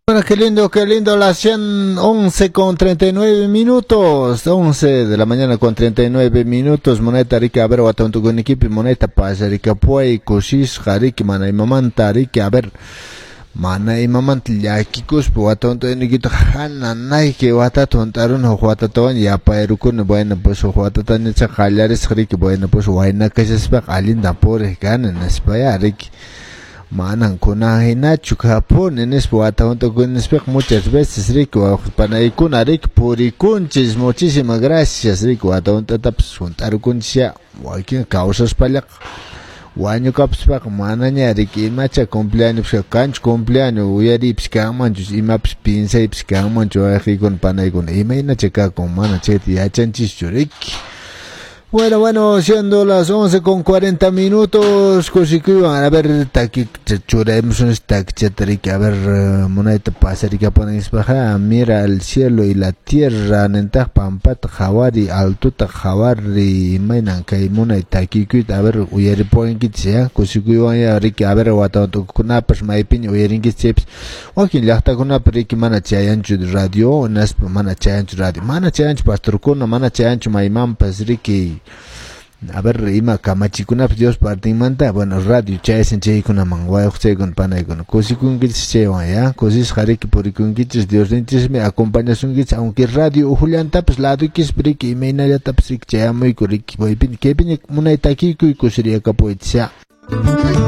Bueno, qué lindo, las 11:39, 11 de la mañana con 39 minutos, moneta rica, a ver, con equipo, moneta pasa rica, puay, kusisqa, riki, mana imamanta, riki, a ver, mana imamanta llakikuspa watantukuykita hananayki watata hunt'aruni huk watatawan yapayrukuni. Bueno, pues huk watatañacha qallarisqa, riki. Bueno, pues wayna kashaspaqa allintan puriq kani nispaya, riki, manan kunan hinachu kapuni nispa wata hunt'akunispiqa muchas veces, riki, panaykuna, riki, purikunchis. Muchísimas gracias, riki, wata hunt'atapas hunt'arukunchis ya. Wakin kawsaspallaqa wañukapuspaqa manaña, riki, imacha cumpleaños kanchu, cumpleaños uyariypis kanmanchu, imapas piensaypis kanmanchu. Wawqiykuna, panaykuna, imaynacha kakun, mana chayta yachanchischu, riki. Bueno, siendo las 11:40, kusikuywan, a ver, taki churaymus takichata, riki, a ver, munayta pasarikapunanispaqa, "Mira al cielo y la tierra" nintaq, pampata qhawari, altuta qhawari, imaynan kay munay takikuyta, a ver, uyaripuwankichis ya, kusikuywan ya, riki, a ver, wata tukukunapas maypiña uyarinkichis chaypas, wakin llaqtakunapi, riki, mana chayanchu radio, naspa mana chayanchu radio, mana chayanchu pastorkuna, mana chayanchu maymanpas, riki, a ver, ima kamachikunapas Dios partinmanta. Bueno, radio chayashan chaykunaman, wayuqchaykuna, panaykuna, kusikunkichis chaywan ya, kusisqa, riki, purikunkichis. Diosninchismi acompañasunkichis, aunque radio ujullantapas laduykispi, riki, imaynallatapas, riki, chayamuyku, riki, kaypiña munay takiykuy kusiriyakapuychis ya.